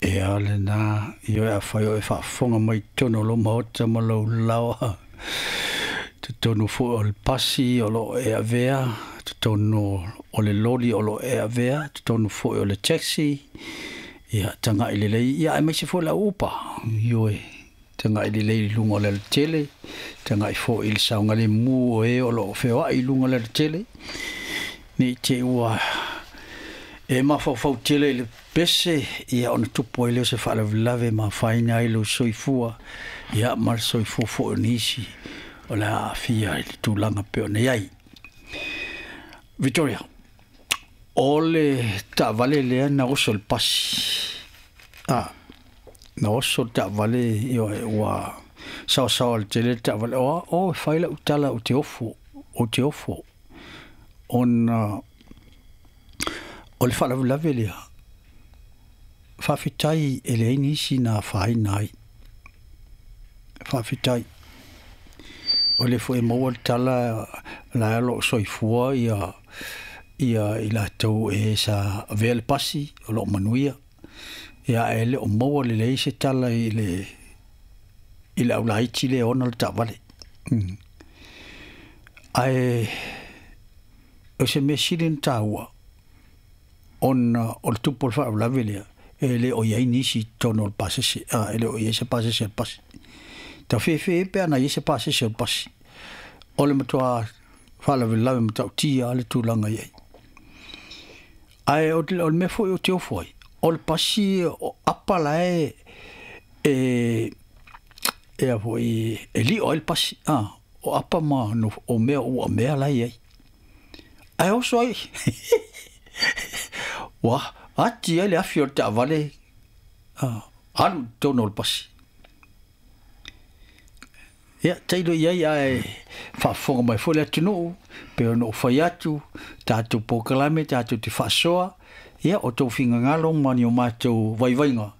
Ia lena, ioe, afai o e faafofoga mai i totonu o lou maota ma lou laoa, totonu foi o le pasi o lo o e avea, totonu o le loli o lo o e avea, totonu foi o le taxi, ia tagai lelei, ia aemaise foi le au upa, ioe, tagai lelei i luga o le alatele, tagai foi i le saogalemu o e o lo o feoai i luga o le alatele, ne i te i ua e mafaufau tele i le pese, ia ona tupu ai lea o se faalavelave e mafaina ai lou soifua, ia ma le soifua foi o nisi o le a aafia i le tulaga pei ona i ai. Victoria, o le taavale lea na oso i le pasi, a, na oso le taavale, ioe, ua saosaoa i le tele le taavale, o, o e fai lau tala ou te ofo, ou te ofo, ona o le faalavelave lea, faafetai e leai nisi na afaina ai. Faafetai. O lea foi e maua le tala la o lo o soifua ia i latou e sa avea le pasi o lo o manuia. Ia ae le o maua lelei se tala i le aulaiti lea e ona le taavale. Ae o se mea sili ona taua, ona o le tupu o le faalavelave lea, e le o i ai nisi i totonu o le pasese, e le o i ai se pasese o le pasi. Tafefe pe ana i ai se pasese o le pasi, o le matua faalavelave matautia le tulaga i ai. Ae o le mea foi o te ofo ai, o le pasi o apa la e a foi, e lio ai le pasi, o apa ma no, o mea ua mea la i ai. Ae oso ai, ua ati ai le afi o le taavale, alu i totonu o le pasi. Ia, tailo i ai ae faafofoga mai foi le atunuu, pe ona ou fai atu, tatou polokalame, tatou te faasoa, ia, o tou finagalo ma ni o matou vaivaiga,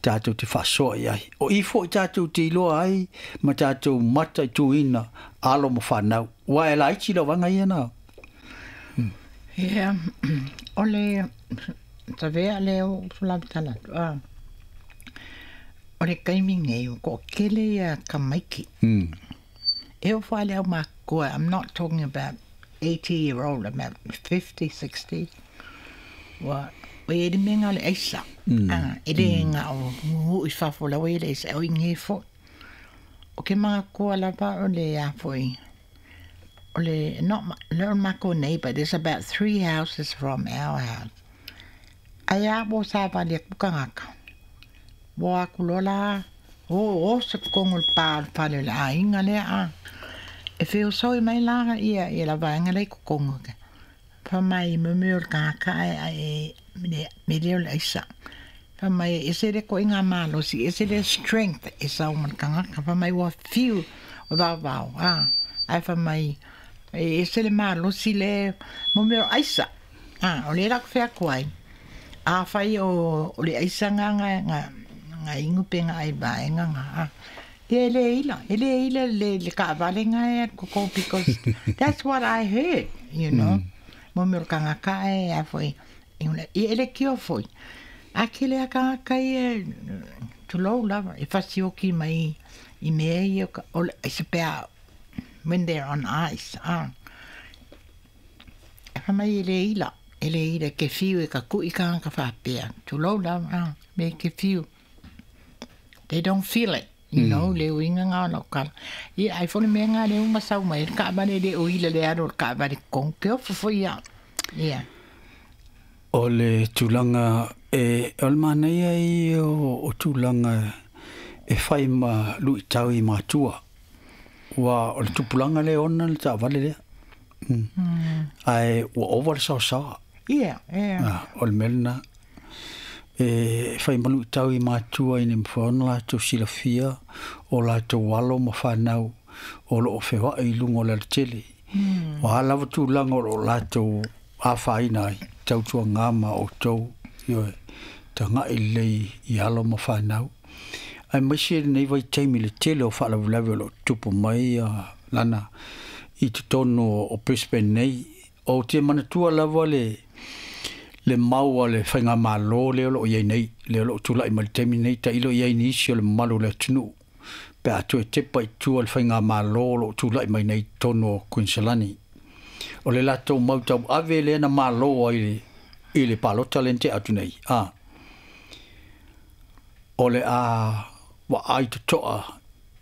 tatou te faasoa i ai. O i foi tatou te iloa ai ma tatou mataituina alo ma fanau. Ua e laiti lau vaega ia na. Ia, o le tavea lea o tala atu, o le taimi nei o toatele ia tamaiti. E oo foi le aumakua, I'm not talking about 80 year old, about 50, 60. Ua o i ai le mea lena o le aisa. E le na o nuu i fafo la ua i ai le aisa, o i inei foi. O ke manatua lava o le a foi, o le, not le o matou neighbor, there's about three houses from our house. Ae a ua savali atu tagata. Ua atu loa la, o oso i totonu o le pa o le fale o le aiga lea a. E feosoi mai la ia ia la vaega lea i totonu. Fai mai mo mea o le tagata ae me lea o le aisa. Fai mai e ese le ituaiga malosi, ese le strength e sau ma le tagata. Fai mai ua fiu o vaovao a. Ae fai mai e ese le malosi le mo mea o aisa. A, o lea la ou te fai atu ai. Afai o le aisa nga nga inu pe nga ai vaega nga a. Ia e le ila, e le ila le taavale nga e alu koko because that's what I heard. Mo mea o le tagata e a foi, ia e le tio foi. A tele a tagata ia, tulou lava, e fasioki mai i mea ia o le aisa pe a when they're on ice. E fai mai e le ila, e le ila ke fiu e ka kui tagata faapea. Tulou lava, a, me ke fiu. They don't feel it, le uiga nga o lau tala. Ia ai foi le mea nga le uma sau mai le taavale le o ila le alu o le taavale totonu. Ke ofo foi au. Ia. O le tulaga e o le manaia ia o tulaga e fai ma luitau i matua. Ua o le tupulaga lea e ona le taavale lea. Ae ua ova le saosaoa. Ia, ia. O le mea lena. E fai ma luitau i matua ina ia mafai ona latou silafia o latou alo ma fanau o lo o feoai i luga o le alatele. O a lava tulaga o lo o latou afaina ai, tautuaga ma outou, ioe, tagai lelei i alo ma fanau. Aemaise lenei vaitaimi i le tele o faalavelave o lo o tutupu mai lana i totonu o Brisbane nei. Ou te manatua lava le le mau a le faigamālō lea o loo iai nei, lea o loo tula'i mai le taimi nei, tailo i ai nisi o le mamalu o le atunuu pe a toe tepa i tua le faigamālō o loo tula'i mai nei totonu o Kuiniselani. O le latou mau tauave lea na mālō ai i le palota lea na tea atu nei, a o le a vaai totoa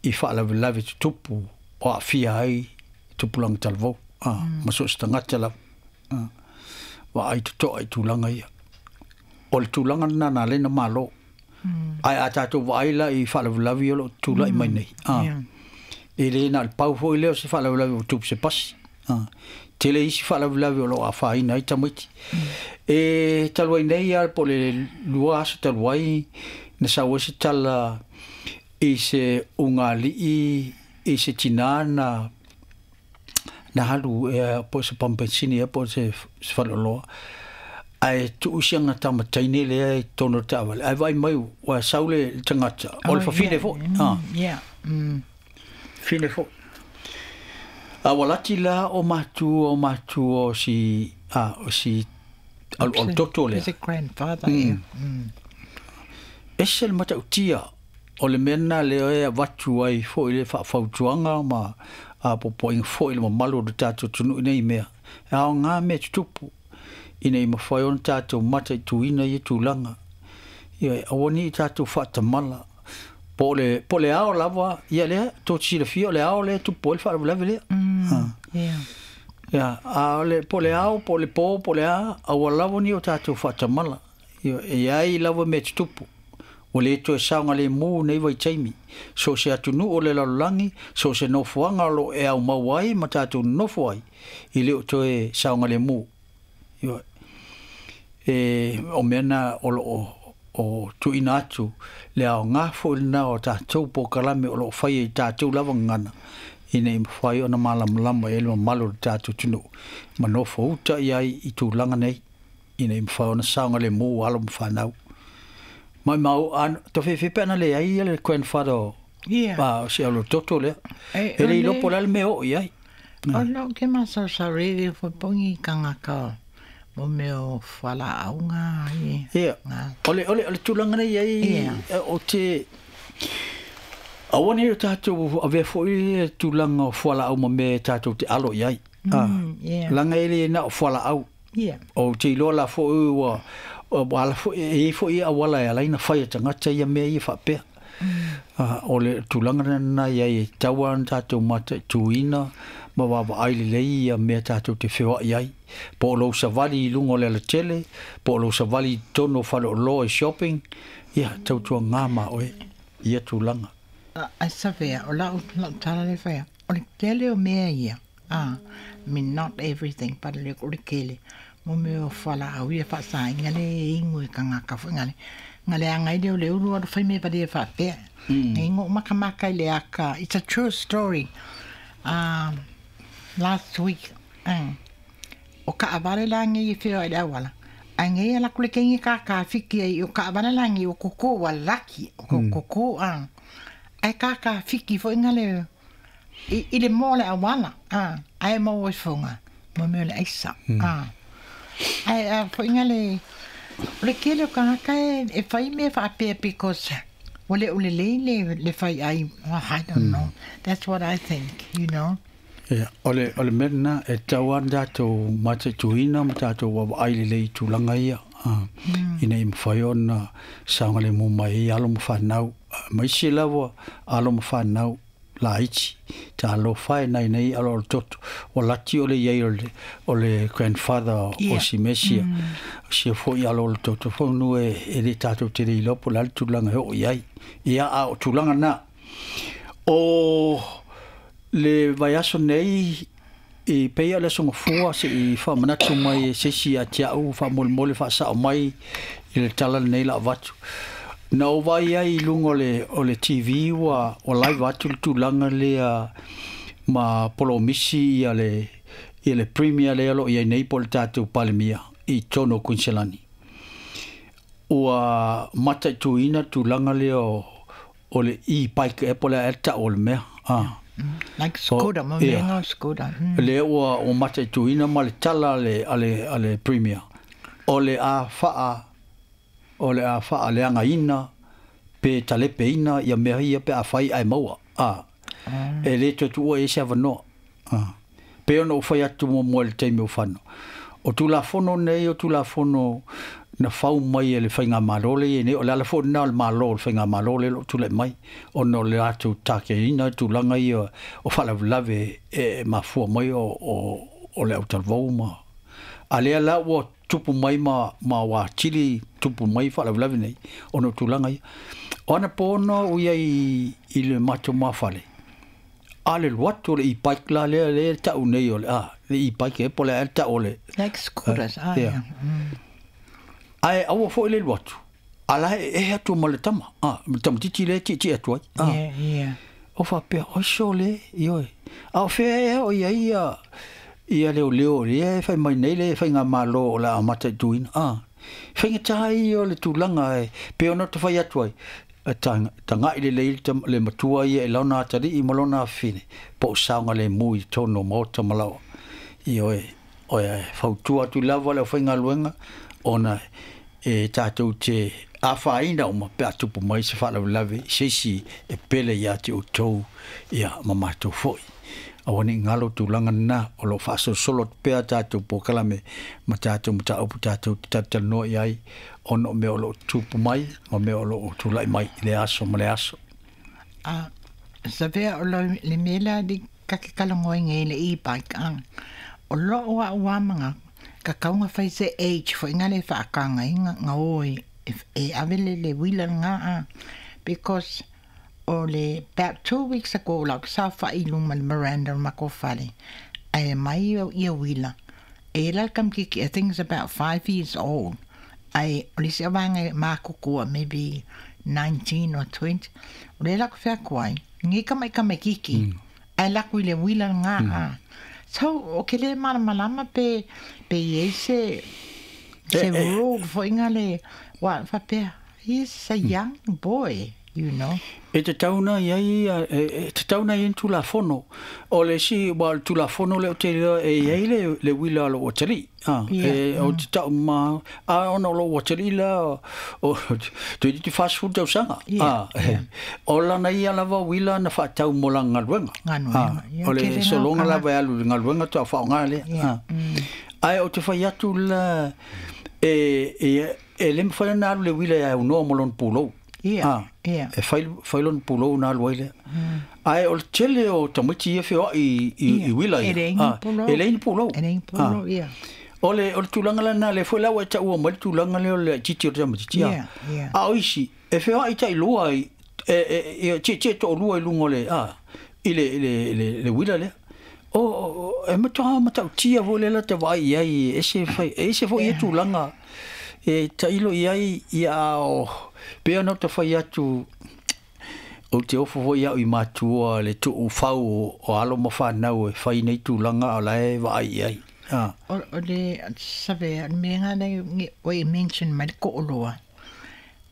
i faalavelave tutupu o aafia ai tupulaga talavou, a ma so o se tagata lava, a vaai totoa i tulaga ia. O le tulaga lena na ala ai ona malo. Ae a tatou vaai la i faalavelave ia o loo tulai mai nei, a e le na o le pau foi lea o se faalavelave ua tupu se pasi, a tele isi faalavelave o loo afaina ai tamaiti. E talu ai nei lava po o le 2 aso talu ai na sau ai se tala i se ugali'i i se tinā na alu ea po o se pamu penisini ea po o se faleoloa, ae tuu si ana tama teine lea i totonu o le taavale, ae vaai mai ua sau le tagata o le fafine foi, a fine foi. A ua lati la o matua o si a o si alualu toto lea. Is it grandfather? Yeah. Ese le matautia o le mea lena lea e avatu ai foi le faafautuaga ma apoapoaiga foi i le mamalu o le tatou atunuu i nei mea. E aoga mea tutupu ina ia mafai ona tatou mataituina ia tulaga. Ioe, aua ne i tatou faatamala po o le ao lava ia lea tou te silafia o le ao lea e tupu ai le faalavelave lea. Ia, a o le po o le ao po o le po po o le a, aua lava ne i o tatou faatamala. Ioe, e i ai lava mea tutupu. Ua le toe saogalemu nei vaitaimi. So o se atunuu o le lalolagi, so o se nofoaga o loo e aumau ai ma tatou nonofo ai, e le o toe saogalemu. Ioe. E o mea na o loo o tuuina atu le aoga foi lena o tatou polokalame o loo faia i tatou lava gagana, ina ia mafai ona malamalama i ai le mamalu o le tatou atunuu ma nofo uta i ai i tulaga nei, ina ia mafai ona saogalemu alo ma fanau. Maumau a tofefe pe ana leai ia le grandfather o o si alualutoto lea. E le iloa po o le a le mea e oo i ai. O lou ke masaosao rere foi pongi kangaka mo mea o fualaauga i. Ia, o le tulaga nei ai o te aua nei o tatou avea foi le tulaga o fualaau ma mea e tatou te alo i ai. Leaga e le na o fualaau. Ou te iloa la foi ua ala foi, e i ai foi auala e ala ai ona fai e tagata ia mea ia faapea. O le tulaga lena i ai e tatau lava ona tatou mataituina ma vaavaai lelei ia mea tatou te feoai ai. Po o lou savali i luga o le alatele, po o lou savali i totonu o faleoloa i shopping, ia tautuaga ma oe ia tulaga. Ae savea, o lau tala lea e fai atu, o le tele o mea ia, I mean not everything but o le tele, mo mea o fualaau ia faasaina le inu e tagata foi na le na leaga ai lea o le ulu alu fai mea valea faapea. Nei na ou makamaka i le aka, it's a true story, last week, o kaavale la nei e feoai i le auala, ae nei ala atu le teine kākāfiki ai, o kaavale la nei o koko ua laki, o koko ae kākāfiki foi na le i le moa o le auala, ae maua ifoga, mo mea o le aisa, ae a foi na le o le tele o tagata e fai mea faapea because ua le o lelei le fai ai, I don't know, that's what I think, you know. Ia, o le mea lena, e tatau lava ona tatou mataituina ma tatou vaavaai lelei i tulaga ia, ina ia mafai ona saogalemu mai ai alo ma fanau, aemaise lava alo ma fanau laiti, talofa e nai nei aloalo toto, ua lati o le i ai o le grandfather o si Mesia, o sia foi aloalo toto semeamanu e le tatou te le iloa po o le a le tulaga e oo i ai. Ia, a o tulaga na, o le vaiaso nei, e pei lava o le Aso Gafua se i faamanatu mai e se isi ia te au faamolemole faasao mai i le tala lenei la avatu. Na ou vaai ai i luga o le TV ua live atu le tulaga lea ma polomisi ia le Premier lea o lo o i ai nei po o le tatou Palemia i totonu o Kuiniselani. Ua mataituina le tulaga lea o le e-bike ea po o le a ea le tau o le mea. Like scooter, mo mea nga o scooter. Lea ua mataituina ma le tala a le Premier. O le a faa o le a faa leagaina pe talepeina ia mea ia pe afai ae maua. E le toe tuua i ai se avanoa. Pei ona ou fai atu muamua i le taimi o fano. O Tulafono nei o Tulafono na fau mai e le faigamalo lea e i ai nei, o le ala foi lena o le Malo o le faigamalo lea o lo o tulai mai, ona o le latou takeina le tulaga ia o faalavelave e mafua mai o le autalavou ma. A lea la ua tupu mai ma ua atili tupu mai faalavelave nei ona o tulaga ia. O anapo ona ou i ai i le matou mafale, a le alu atu o le e-bike la lea lea e tau nei o le a, le e-bike e po o le a ea le tau o le. Like scooters, ah yeah. Ae aua foi le alu atu, a la e ehe atu ma le tama, a, ma le tamaitiiti lea e tietie atu ai. A. Yeah, yeah. O faapea, oi sole, ioe. A o fea ea o i ai ia, ia leoleo lea e fai mai nei le faigamalo o le a mataituina, a. Faigata ia o le tulaga e pei ona ta fai atu ai, tagai lelei le matua ia i lona atalii ma lona afafine, po o saogalemu i totonu o maota ma laoa. Ioe, e fautua atu lava le aufaigaluega ona e tatou te afaina uma pe a tupu mai se faalavelave i se isi e pele ia te outou ia ma matou foi. Aua ne i galo tulaga lena, o lo o faasolosolo atu pea tatou polokalame ma tatou mataupu tatou te talatalanoa i ai ona o mea o lo o tupu mai ma mea o lo o tulai mai i lea aso ma lea aso. A savea o lo le mea lea li ka ke talanoaina i le e-bike a o lou a'u a manatu ka tau na fai se age foi na le faataga ai na o e ave le uila lena a because o le about 2 weeks ago lau saofa'i i luma le veranda o le matou fale ae aumai ia uila e i ai la le tamaititi. I think is about 5 years old, ae o le isi vaega e matutua, maybe 19 or 20. O lea la ou te fai atu ai nei tama'i tamaititi ae alu atu i le uila lena a. So o ke le malamalama pe i ai se rule foi na le ua faapea he's a young boy. E tatau ona i ai, e tatau ona i ai ni Tulafono. O le isi, aua o le Tulafono lea ou te iloa e i ai le uila o lou atalii. E, ou te tau ma, a ona o lou atalii la, o, toeitiiti 40 tausaga. O lana ia lava uila na faatau mo lana galuega. Galuega, ia, O le tele na sologa o lava e alu i le galuega faatoa faaaoga lea. Ae ou te fai atu la, e le mafai ona alu le uila e aunoa ma lona pulou. E fai, fai lona pulou ona alu ai lea. Ae o le tele o tamaiti ia feoai i uila E ia. leai ni pulou. E leai ni pulou. E leai ni pulou, ia. O le tulaga lena, lea foi la ua e taua mai le tulaga lea o le laitiiti o le tamaitiiti. A o isi, e feoai tailua i, e tietie toalua i luga o le, i le uila lea. O, e matua matautia foi lea la te vaai i ai, e ese, fai, e ese foi ia tulaga e tailo i ai ia o, pei ona ou te fai atu, ou te ofo foi au i matua le tuufau o alo ma fanau e fai nei tulaga o la e vaai i ai. O le savea, o le mea nga nei ua e mention mai le to'oloa.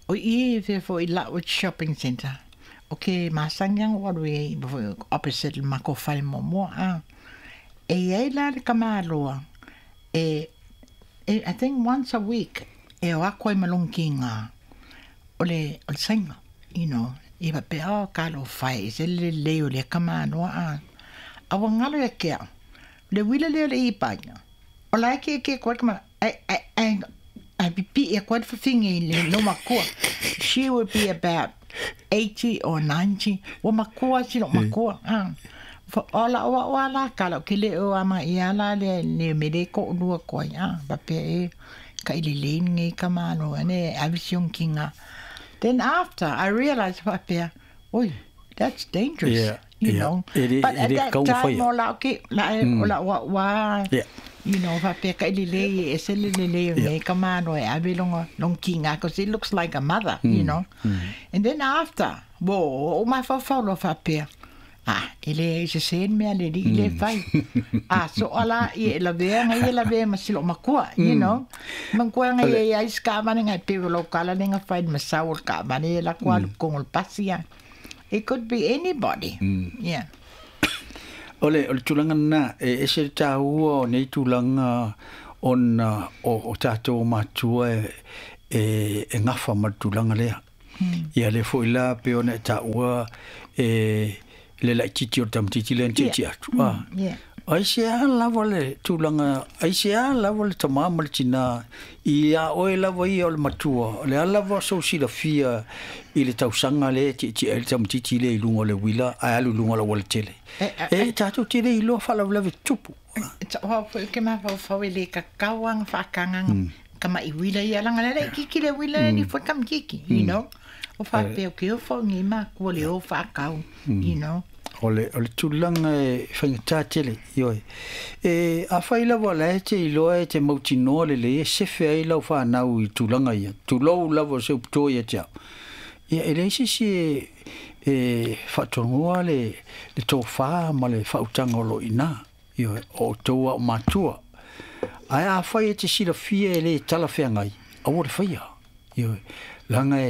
O i e fea foi Lutwyche Shopping Centre. O ke masani aga o alu i ai foi opposite le matou fale muamua a. E i ai la le tamāloa e I think once a week e o atu ai ma lona kiga o le saina i faapea oh talofa e ese le lelei o lea tamāloa a. A ua galo ia te a'u le uila lea o le e-bike. O la e tietie atu ai le tama ae pipi'i atu ai le fafine i le lou matua. She would be about 80 or 90. Ua matua si lou matua a. O la'u a'u a la tala ou te le o ama'ia la lea le mea lea e to'alua atu ai a. Faapea e taʻilelei lenei tamāloa ane e ave si ona kiga. Then after I realised faapea, oi, that's dangerous. You know. E But at le that tatau ona time faia. o la'u ke la o la'u a'u a faapea taʻilelei e ese le lelei o lenei tamāloa e ave lona kiga because it looks like a mother. And then after, ua ou mafaufau loa faapea, ah, e le sesē le mea a le alii le fai. A so'a la ia e lavea ga ia lavea ma si lo'u makua. Manatua aga ia iai se kaavale gae pei o lau tala lea na fai i le masau o le kaavale e latou alu totonu o le pasi a. It could be anybody. Yeah. O le tulaga lena, e ese le tāua o nei tulaga. Ona o tatou matua e gafa ma le tulaga lea. Ia lea foi la pei ona e taua e le laitiiti o le tamaitiiti lea na tietie atu. Aisea lava le tulaga, aisea lava le tamā ma le tinā ia oe lava ia o le matua, o le a lava sou silafia i le tausaga lea e tietie ai le tamaitiiti lea i luga o le uila ae alu i luga o le aualatele. E tatou te le iloa faalavelave tutupu. O foi ke mafaufau e lē tatau aga faatagaga tamaʻi uila ia laga le laʻitiiti le uila ni foi tamaitiiti o faapea ke o foʻi makua le o faatau. O le tulaga e faigata tele, ioe. E afai lava la e te iloa e te mautinoa lelei e sefe ai lau fanau i tulaga ia, tulou lava o se upu ia te au. Ia e leai se isi e faatonuga le tofā ma le faautaga o lo o i ina. Ioe, o outou a o matua. Ae afai e te silafia e lē talafeagai, aua le faia. Ioe, laga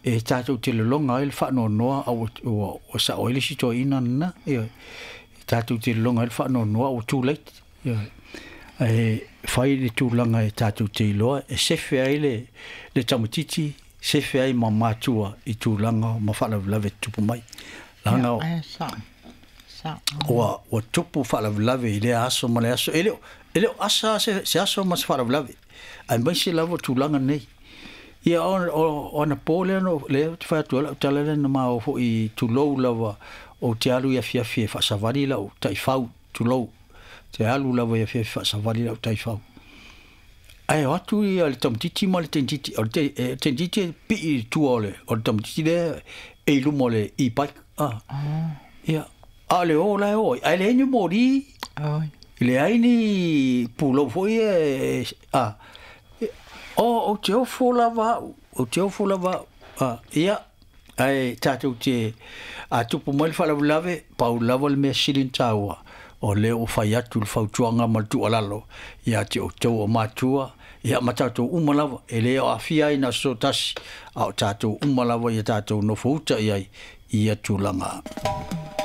e tatou te lologa ai le faanoanoa a ua sao ai le isi toeaina lena. Ioe, e tatou te lologa ai le faanoanoa ua too late. Ioe, ae fai le tulaga e tatou te iloa e sefe ai le tamaitiiti, sefe ai ma matua i tulaga ma faalavelave tutupu mai. Laga ua tupu faalavelave i lea aso ma le aso. E le o asa se aso ma se faalavelave, aemaise lava tulaga nei. Ia o anapo lea no lea ou te fai atu ai lau tala lea na ma oo foi, tulou lava, ou te alu i afiafi e faasavali lau taifau, tulou, te alu lava i afiafi faasavali lau taifau. Ae o atu ia le tamaitiiti ma le teinitiiti, o le teinitiiti e pii i tua o le tamaitiiti lea e i luma o le e-bike. Ia, a o le o la e o ai, ae leai ni moli, leai ni pulou foi e o ou te ofo lava au, ou te ofo lava au. Ia, ae tatou te a tupu mai le faalavelave, pau lava le mea sili ona taua, o lea ua fai atu le fautuaga ma le tuualalo ia te outou o matua, ia ma tatou uma lava, e le o aafia ai na o se tasi, a o tatou uma lava ia tatou nofouta i ai i ia tulaga.